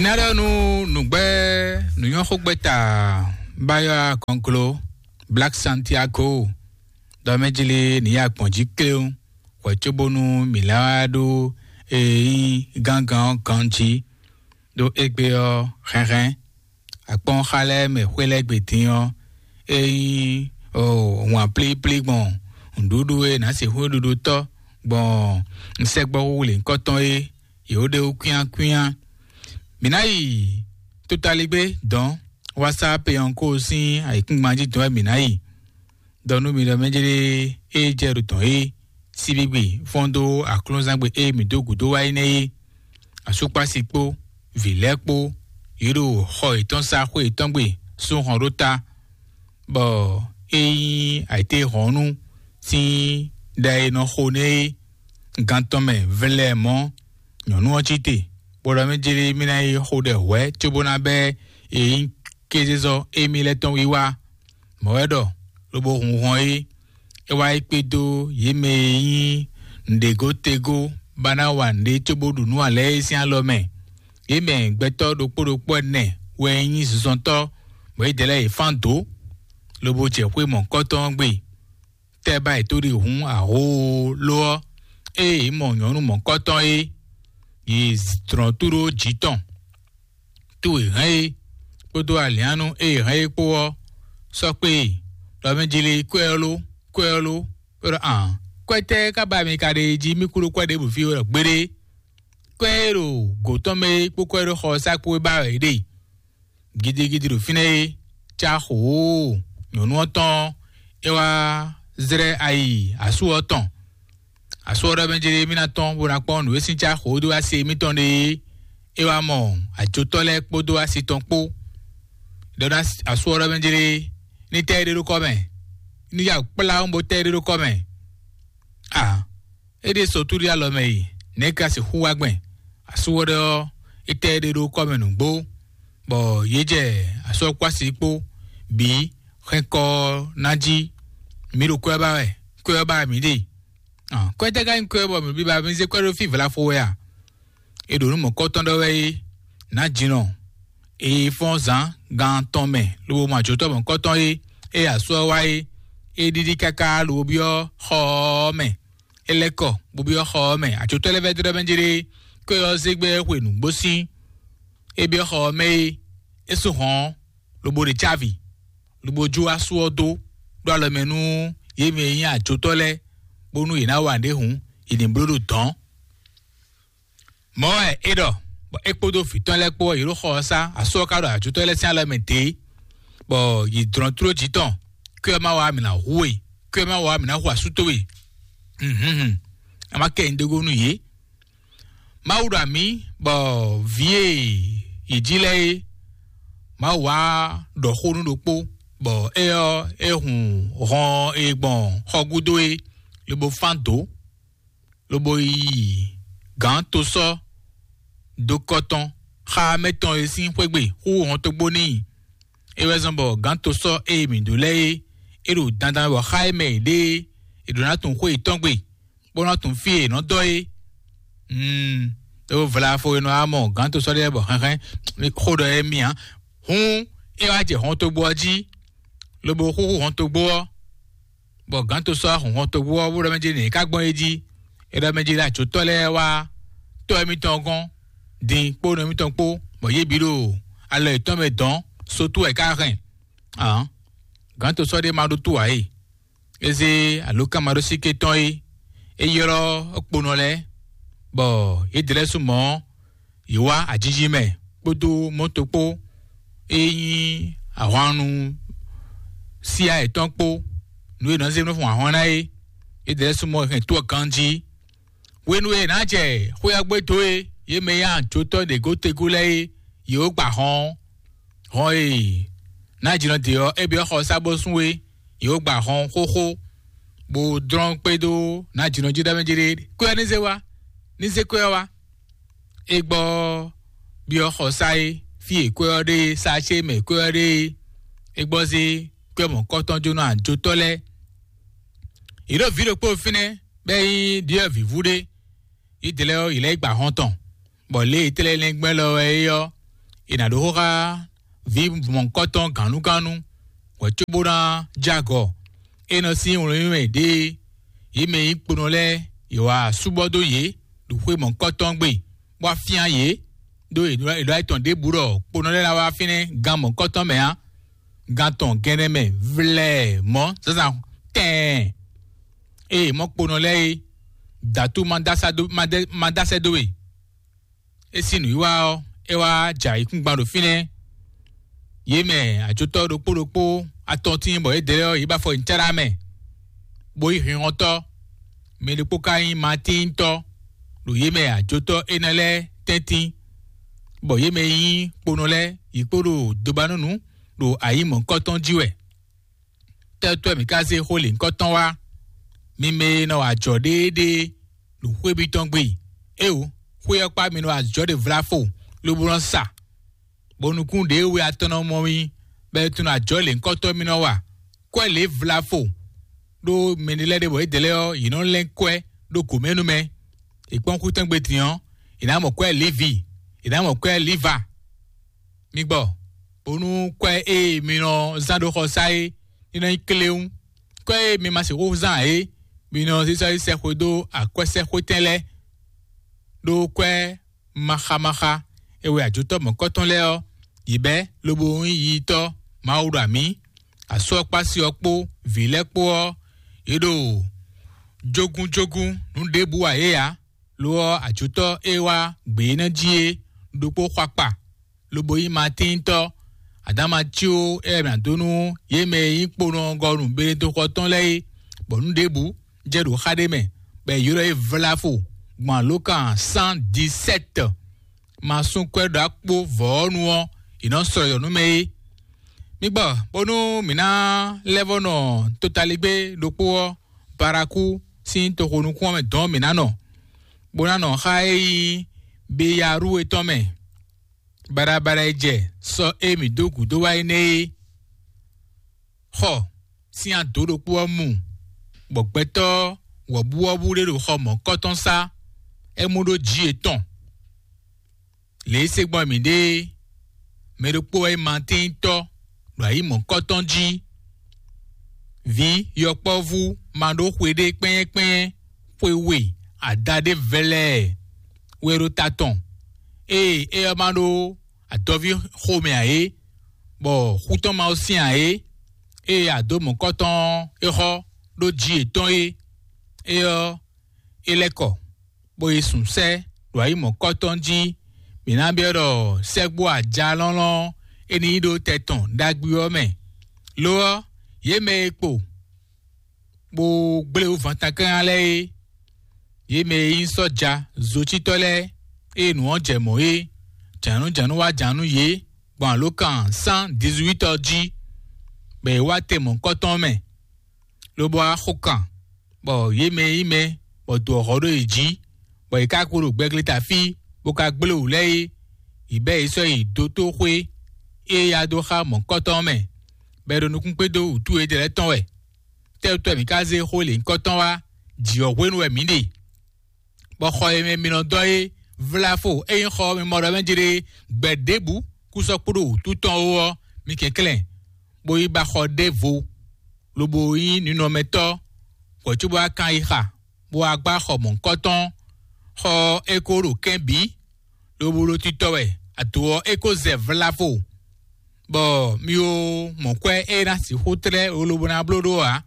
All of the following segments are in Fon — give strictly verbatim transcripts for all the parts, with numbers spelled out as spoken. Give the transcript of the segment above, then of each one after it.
Ina ɖɔ nú nǔgbɛ́ nǔnyɔ́xógbɛ́ta Bayɔ́ Agɔnklo Black Santiago ɖɔ mɛ jlí nǐ ya gbɔn jí kléwún hwɛ cóbónú mǐ lá wá ɖó e nyí gángan ɔ́ ganjí. Ɖó égbé ɔ́, hɛnhɛn akpɔ́nxa lɛ́ɛ mɛ xwé lɛ́ɛ gbe din ɔ́, é nyí wǎn plíplí gbɔn nǔɖuɖu e nǎ sixú ɖuɖu tɔ́ gbɔn sɛgbɔ́ wúwle nyǐkɔ tɔn é, yě wó ɖe wú kwíánkwíán. Mǐ ná yi totaligbé dɔ̌n wá sá Peyɔnko sín ayǐkúngban jí dɔ̌n wɛ mǐ ná yi. Dɔ nú mi ɖɔ mɛ jlé é jɛ ɖo tɔn é, síbígbe fɔ́n dó aklúnzangbe e mǐ dó gǔdo wá é nɛ́ é. Asúkpási kpó vǐ lɛ́ɛ kpó, yě ɖo xɔ yětɔn sá xwé yětɔn gbe sú hɔn ɖó ta, bɔ é nyí ayǐtéhɔ̌nnu sín ɖa e nɔ xo nɛ́ é. Gan tɔn mɛ vlɛ́ mɔ̌, nyɔ̌nu ɔ́ cí te, bó ɖɔ mɛ jlé mí ná yi xo ɖɛ hwɛ̌ cóbó ná bɛ́ e nyí kézezɔ émí lɛ́ɛ tɔn wiwa. Mɔ̌ wɛ ɖɔ, lobo hun hɔn é, é wá yi kpé dó yě mɛ e nyí nǔɖégótégó ba ná wa nǔɖé cóbó ɖu nǔ ǎ lɛ́ɛ é sín alɔ mɛ. Yě mɛ gbɛtɔ́ ɖokpó ɖokpó ɛnɛ wɛ nyí zunzɔntɔ́, bɔ yědɛɛ lɛ́ɛ yě fán dǒ, lobo jɛ xwé mɔ̌kɔ́tɔn ɔ́ gbe. Tɛ́ ba yě tó ɖi hǔn ahoo lo ɔ́, ée yě mɔ nyɔ̌nu mɔ̌kɔ́tɔn é, yě dlɔ̌n túɖó jǐ tɔn. Tó e hɛn é kpódó aliánú e hɛn é kpó ɔ́, sɔ́ kpé e ɖɔ mɛ jlé kwɛ ɔ́ ló, kwɛ ɔ́ ló, bó ɖɔ ǎn, kwɛ tɛ́ ka ba mi ka ɖe jí mí kú ɖó kwɛ ɖěbǔ fí wɛ ɖɔ gbeɖé? Kwɛ e ɖo gǒ tɔn mɛ é kpó kwɛ ɖó xɔ ɔ́ sá kpó é ba wɛ é ɖe. Gidigidi ɖo fínɛ́ é, cá xoo, nyɔ̌nu ɔ́ tɔn é wá zlɛ́ ayi asú ɔ́ tɔn. Asú ɔ́ ɖɔ mɛ jlé mí ná tɔ́n bó ná kpɔ́n nǔ e sín cá xoo dó wá se émítɔn ɖe é. É wá mɔ ajotɔ́ lɛ́ɛ kpódó asi tɔn kpó. Ɖɔ ná asú ɔ́ ɖɔ mɛ jlé ní tɛ́ é ɖé ɖó kɔ́ mɛ, ní ya kplá bó tɛ́ é ɖé ɖó kɔ́ mɛ. A é ɖe sɔ túɖí alɔ mɛ yi, nɛ̌ ka sixú wá gbɛn? Asú ɔ́ ɖɔ é tɛ́ é ɖé ɖó kɔ́ mɛ nǔgbó, bɔ yě jɛ asɔ́kwási kpó bǐ hɛn kɔ ná jí. Mǐ ɖo kwɛ́ ba wɛ, kwɛ́ ba mǐ ɖe. Kwɛ́ tɛ́ ka nyí kwɛ́ bɔ mǐ bí ba mǐ zé kwɛ́ ɖó fí vlafo wɛ a? È ɖo nǔ mɔ̌kɔtɔn ɖɔ wɛ é, nǎ jinɔ e fɔ́n zǎn gan tɔn mɛ lobo mɔ ajotɔ́ mɔ̌kɔtɔn é, ée asú ɔ́ wá é, é ɖiɖi káká lobo byɔ́ xɔ ɔ́ mɛ. É lɛ́ kɔ bó byɔ́ xɔ ɔ́ mɛ. Ajotɔ́ lɛ́ɛ vɛ́ dó ɖɔ mɛ jlé, kɔ́ ɔ́ zé gbɛ́ xwe nǔgbó sín. É byɔ́ xɔ ɔ́ mɛ é, é sú hɔn ɔ́, lobo ɖe cávi, lobo jó asú ɔ́ dó ɖó alɔ mɛ nú yě mɛ e nyí ajotɔ́ lɛ́ɛ, bónú yě ná wa nǔɖé hǔn, yě ní bló ɖo dɔ̌n. Mɔ̌ wɛ é ɖɔ, bɔ é kpódó vǐ tɔn lɛ́ɛ kpó ɔ́, yě ɖo xɔ ɔ́ sá, asú ɔ́ ka ɖo ajotɔ́ lɛ́ɛ sín alɔ mɛ dě, bɔ yě dlɔ́n tló jǐ tɔn, kí wɛ má wa mǐ ná hu we, kí wɛ má wa mǐ ná hu asú towe. Hlǔnhlún, a má kɛ nyi dó gó nú yě. Mawu ɖo amǐ, bɔ vǐ e yě jí lɛ́ɛ é, Mawu wá ɖɔ xó nú ɖokpó, bɔ éyɛ́ ɔ́, é hun hɔn e gbɔn xɔ gúdo é, lobo fán dǒ, lobo yi gǎn tosɔ́ dó kɔ tɔn xá mɛ tɔn e sín xwé gbe xú hɔntogbó n'i. É wɛ zɔ́n bɔ gǎn tosɔ́ e mǐ ɖó lɛ́ɛ é, é ɖo dandan wɛ bɔ xá e mɛ è ɖe é, è ɖǒ ná tunwun xwé yětɔn gbe, bó ná tunwun fí e è nɔ dɔ́ é. Mm, é wó vlafo e nɔ wá mɔ gǎn tosɔ́ ɖé bɔ hɛnhɛn xó ɖɔ émí ǎ. Hǔn é wá jɛ hɔntogbó ɔ́ jí, lobo xúxú hɔntogbó ɔ́, bɔ gǎn tosɔ́ wá hun hɔntogbó ɔ́, bó ɖɔ mɛ jí nǐ é ka gbɔn é jí. É ɖɔ mɛ jí ɖɔ ajotɔ́ lɛ́ɛ wá tɔ́ émítɔn gɔ́n, din kpó nɔ émítɔn kpó, bɔ yě bǐ ɖo alɔ yětɔn mɛ dɔ̌n, sotú wɛ é ka hɛn. Ǎ, gǎn tosɔ́ ɖé ma ɖó tú ǎ e. É zé alǒkanmaɖósíké tɔn é, é ylɔ́ kponɔ lɛ́ɛ, bɔ yědɛɛ lɛ́ɛ sú mɔ̌, yě wá ajiji mɛ kpódó mɔto kpó, é nyí ahwannu síá yětɔn kpó, nǔ e è nɔ zé nɔ fun ahwan ná é. Yědɛɛ lɛ́ɛ sú mɔ̌ hɛn tó ɔ́ ganjí. Hwenu e è nǎ jɛ xwé ɔ́ gbe dó é, yě mɛ e nyí ajotɔ́ ɖě gótegú lɛ́ɛ é, yě wó gba hɔn ɔ́. Hɔn e Nǎjínɔ ɖe ɔ́, é byɔ́ xɔ sá bó sún é, yě wó gba hɔn xóxó, bó dlɔ́n kpé dó Nǎjínɔ jí ɖɔ mɛ jí ɖé, kwɛ́ ɔ́ ní zé wá, ní zé kwɛ́ ɔ́ wá. É gbɔ byɔ́ xɔ sá é, fí e kwɛ́ ɔ́ ɖe é, sá ce mɛ kwɛ́ ɔ́ ɖe é, é gbɔ zé kwɛ́ mɔ̌kɔtɔn jónɔ ajotɔ́ lɛ́ɛ. Yě ɖo vǐ ɖokpó fínɛ́, bɔ é nyí ɖyɔ̌vǐvú ɖé. Yědɛɛ lɛ́ɛ ɔ́, yě lɛ́ yi gba hɔn tɔn, bɔ lě e è tlɛ lɛ́ngbɛ́n lɔ wɛ é ɔ́, è nǎ ɖó xó xá vǐ mɔ̌hunkɔtɔn gǎnnugánnu, hwɛ̌ cóbó ná jɛ agɔ. É nɔ sín wlɛ́nwlɛ́n ɖěe yě mɛ e nyí kponɔ lɛ́ɛ, yě wá súbɔ́ dó yě ɖo xwé mɔ̌hunkɔtɔn gbe, bó wá fyán yě, ɖó è ɖɔ è ɖɔ ayǐ tɔn ɖěbǔ ɖɔ kponɔ lɛ́ɛ ná wá fínɛ́ gan mɔ̌hunkɔtɔn mɛ ǎ. Gan tɔn gɛnɛ mɛ vlɛɛ mɔ̌ zǎnzǎn tɛɛn. Ée mɔ̌ kponɔ lɛ́ɛ é, dǎtú ma dá sá dó ma dá sɛ́ dó we. É sín nǔwiwa ɔ́, é wá jɛ ayǐkúngban ɖo fínɛ́. Yě mɛ ajotɔ́ ɖokpó ɖokpó atɔn tíin bɔ yědɛɛ ɔ́, yě ba afɔ nyi Cɛ́ɖá mɛ, bó yí hinhɔntɔ́. Mɛ ɖokpó ka nyí Matíntɔ́ ɖo yě mɛ ajotɔ́ énɛ́ lɛ́ɛ tɛ́ntin, bɔ yě mɛ e nyí kponɔ lɛ́ɛ, yě kpo ɖo dobanúnu ɖo ayǐ mɔ̌hunkɔtɔn jí wɛ. Tɛ́tɔ́ mǐ ka zé xó lěhunkɔtɔn wá? Mi mɛ e nɔ wa ajɔ̌ ɖéeɖée ɖo xwé mitɔn gbe. Éeǒ, xwé ɔ́ kpá mi nɔ wa ajɔ̌ ɖě vlafo, lobo nɔ sa, bɔ nukún ɖěe we atɔn nɔ mɔ mi, bɔ è tunwun ajɔ̌ lěhunkɔtɔn mi nɔ wa. Kwɛ́ lě vlafo ɖó mɛɖé lɛ́ɛ ɖe bɔ yědɛɛ lɛ́ɛ ɔ́, yě nɔ lɛ́n kwɛ́ ɖó gǒ mɛ nú mɛ. È kpɔ́n xwítɔ́ngbe din ɔ́, è nǎ mɔ kwɛ́ Livi, è nǎ mɔ kwɛ́ Liva. Mi gbɔ, bónú kwɛ́ e mi nɔ zán ɖó xɔsá é ní nɔ nyí kléwún. Kwɛ́ e mi ma sixú zán ǎ é, mi nɔ zízɔ́ yi sɛxwe dó akwɛ́sɛ́xwétɛn lɛ́ɛ, ɖó kwɛ́ maxamaxa e wɛ ajotɔ́ mɔ̌kɔtɔn lɛ́ɛ ɔ́, yě bɛ́ lobo nyí yiyitɔ́ Mawu ɖo amǐ. Asú ɔ́ kpó asi ɔ́ kpó vǐ lɛ́ɛ kpó ɔ́, yě ɖo jógúnjógún nǔ ɖěbǔ wa yě ǎ. Lo ɔ́, ajotɔ́ e wá gbě énɛ́ jí é ɖokpó xɔ akpa, lobo nyí Matíntɔ́. Adǎma có é wɛ mǐ ná dó nú yě mɛ e nyí kponɔgɔnu Benedexɔ tɔn lɛ́ɛ é, bɔ nǔ ɖěbǔ jɛ ɖo xá ɖé mɛ, bɔ è ylɔ́ yě vlafo gbɔn alǒkan cent dix-sept. Ma sú kwɛ́ ɖo akpó vɔ̌ ɔ́ nu ɔ́, è nɔ slɔ́ yɔ nú mɛ é. Mi gbɔ, bónú mǐ ná lɛ́ vɔ́ nɔ totaligbé ɖokpó ɔ́, Barakú sín toxo nukún ɔ́ mɛ dɔn mǐ ná nɔ, bó ná nɔ xá e nyí Beyarúwe tɔn mɛ, baɖabaɖa e jɛ sɔ e mǐ dó gǔdo wá é nɛ́ é. Xɔ sín ado ɖokpó ɔ́ mu, bɔ gbɛtɔ́ wɔ̌buwɔ́bú ɖé ɖo xɔ mɔ̌kɔtɔn sá, é mú ɖó jǐ yětɔn. Lě e se gbɔn mǐ ɖe é, mɛ ɖokpó wɛ nyí Matíntɔ́ ɖo ayǐ mɔ̌kɔtɔn jí. Vǐ yɔkpɔ́vú ma ɖó xwe ɖé kpɛ́nyɛ́kpɛ́nyɛ́ xwe we adaɖé vɛlɛɛ wɛ ɖo ta tɔn. Ée é ɔ́ ma ɖó adɔví xomɛ ǎ é, bɔ xú tɔn ma ó syɛ́n ǎ é, ée ado mɔ̌kɔtɔn ɔ́ é xɔ ɖó jǐ yětɔn é, é ɔ́, é lɛ́ kɔ, bó yi sún sɛ́ ɖo ayǐ mɔ̌kɔtɔn jí. Mǐ ná byɔ́ ɖɔ sɛ́gbó ajalɔ́lɔ́ é ní yi ɖó tɛ tɔn ɖagbe ɔ́ mɛ. Lo ɔ́, yě mɛ e kpo bó gblé wú vantánkɛ́nlá lɛ́ɛ é, yě mɛ e nyí sɔ́ja zocítɔ́ lɛ́ɛ, ée nǔ ɔ́ jɛ mɔ̌ é, jǎnújǎnú wá jǎnú yě gbɔn alǒkan cent dix-huit ɔ́ jí, bɔ è wá te mɔ̌kɔtɔn mɛ, lobo wá xo kan, bɔ yě mɛ e nyí mɛ bɔ dǒ ɔ́ ɖo yě jí, bɔ yě ká kpo ɖo gbɛgleta fí, bó ka gblé wǔ lɛ́ɛ é, yě bɛ́ yě sɔ́ yi dótóxwé e ya dó xá mɔ̌kɔtɔn ɔ́ mɛ, bɔ è ɖo nukún kpé dó wǔtú yědɛɛ lɛ́ɛ tɔn wɛ. Tɛ́ wútu wɛ mǐ ka zé xó lěhunkɔtɔn wá? Jǐ ɔ́ hwenu wɛ mǐ ɖe, bɔ xɔ e mɛ mi nɔ dɔ́ é vlafo, ényí xɔ mi mɔ ɖɔ mɛ jlé gbɛ ɖěbǔ kú sɔ́ kpó ɖo wǔtu tɔn ó ɔ́, mi kɛnklɛ́n, bó yi ba xɔ ɖěvo, lobo nyí ninɔmɛtɔ́, hwɛ̌ cóbó wá kan yi xa, bó wá gbá xɔ mɔ̌hunkɔtɔn. Xɔ ɔ́ é ko ɖo kɛ́n bǐ, lobo ɖo titɔ wɛ, ado ɔ́ é ko zɛ vlafo, bɔ mi ó mɔ kwɛ́ e ná sixú tlɛ́ lobo ná bló ɖó ǎ.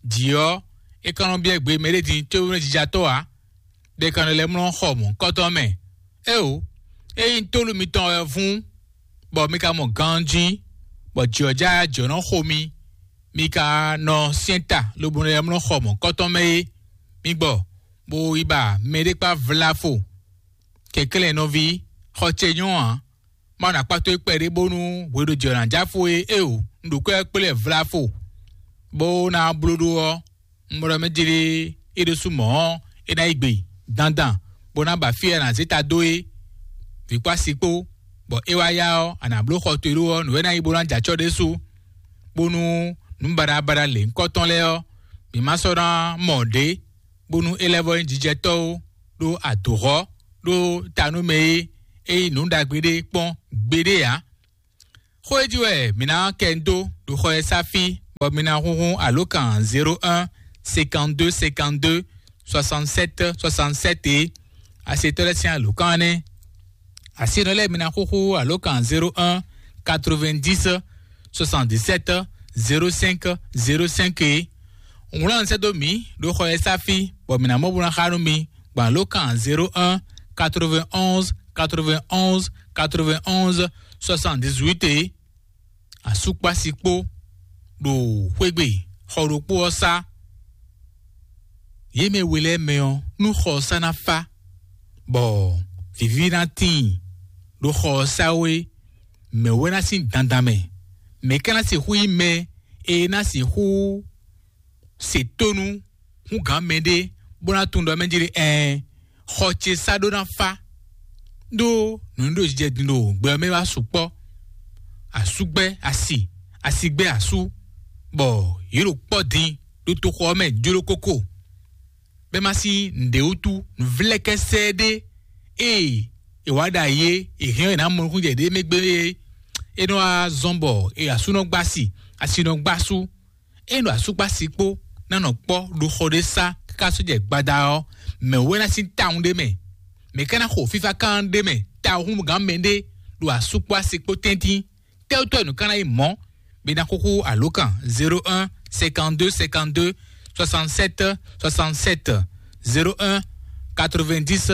Jǐ ɔ́, é ka nɔ byɔ́ gbe mɛɖé din cóbó nɔ jijatɔ́ ǎ, ɖe kan nɔ lɛ́ mlɔ́ xɔ mɔ̌hunkɔtɔn mɛ. Éeǒ, ényí tólu mitɔn wɛ vún, bɔ mi ka mɔ ganjí, bɔ jǐ ɔ́ já jɔ̌ nɔ xo mi, mi ka nɔ syɛ́n ta lobo nɔ lɛ́ mlɔ́ xɔ mɔ̌hunkɔtɔn mɛ é, mi gbɔ, bó yi ba mɛɖé kpá vlafo. Kɛnklɛ́n nɔví, xɔ ce nyɔ́ ǎ. Mawu ná kpá towe kpɛɖé bónú hweɖojɛ ɔ́ ná jɛ afo é. Éeǒ, un ɖo kwɛ́ kplé vlafo, bó ná bló ɖó ɔ́, un ɖɔ mɛ jlé é ɖésú mɔ̌ ɔ́, é ná yi gbe dandan, bó ná ba fí e a nǎ zé ta dó é, vǐ kpó asi kpó, bɔ é wá yá ɔ́, a nǎ bló xɔ towe ɖó ɔ́, nǔ e ná nyí bó ná jɛ acɔ́ ɖésú, bónú nǔ baɖabaɖa lěhunkɔtɔn lɛ́ɛ ɔ́, mǐ ma sɔ́ ná mɔ ɖě, bónú é lɛ́ vɔ́ nyí jijɛtɔ́ ó, ɖó adǒhɔ́ ɖó ta nú mɛ é, é nyí nǔ ɖagbe ɖé kpɔ́n gbeɖé ǎ. Xó e jí wɛ mǐ ná kɛ dó ɖo xɔ e sá fí, bɔ mi ná húnhún alǒkan zéro un cinquante-deux cinquante-deux soixante-sept soixante-sept é. Asetɔ́ lɛ́ɛ sín alǒkan énɛ́. Asinɔ lɛ́ɛ mi ná xúxú alǒkan zéro un quatre-vingt-dix soixante-dix-sept zéro cinq zéro cinq é. Wlán sɛ́ dó mǐ ɖo xɔ e sá fí, bɔ mǐ ná mɔ bó ná xá nú mi gbɔn alǒkan zéro un quatre-vingt-onze quatre-vingt-onze quatre-vingt-onze soixante-dix-huit é. Asúkpási kpó ɖo xwégbe xɔ ɖokpó ɔ́ sá. Yě mɛ we lɛ́ɛ mɛ ɔ́, nú xɔ ɔ́ sá ná fá, bɔ vǐví ná tíin ɖo xɔ ɔ́ sá ó é, mɛ̌ wɛ ná sín dandan mɛ? Mɛ̌ ka ná sixú nyí mɛ e ná sixú se tónú hú gǎn mɛɖé bó ná tunwun ɖɔ mɛ jí ɖe ɛɛ xɔ ce sá ɖó ná fá? Ɖó nǔ ɖo jijɛ din ɖo gbɛ ɔ́ mɛ wá sukpɔ́. Asúgbɛ́ asi, asigbɛ́ asú, bɔ yě ɖo kpɔ́ din ɖo toxo ɔ́ mɛ jló kókó. Bɛ́ má sín nǔɖé wútu nǔvlɛ́kɛ́sɛ ɖé ée è wǎ ɖo ayé è hɛn ɔ́ è nǎ mɔ nukúnnú jɛ ɖě mɛ gbé é. É nɔ wá zɔ́n bɔ è asú nɔ gbá asi, asi nɔ gbá asú. É nɔ asúkpási kpó ná nɔ kpɔ́ ɖo xɔ ɖé sá káká sɔ́ jɛ gbada ɔ́, mɛ̌ wɛ ná sín tawun ɖé mɛ? Mɛ̌ ká ná xo fífá kan ɖé mɛ tawun húngán mɛ ɖé ɖo asúkpási kpó tɛ́ntin? Tɛ́wútɔ́ nǔ ká ná nyí mɔ̌? Bɛ ná xúxú alǒkan zéro un cinquante-deux cinquante-deux soixante-sept soixante-sept, zéro un quatre-vingt-dix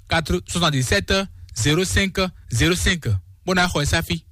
soixante-dix-sept zéro cinq zéro cinq, bó ná xɔ ɛ sáfí.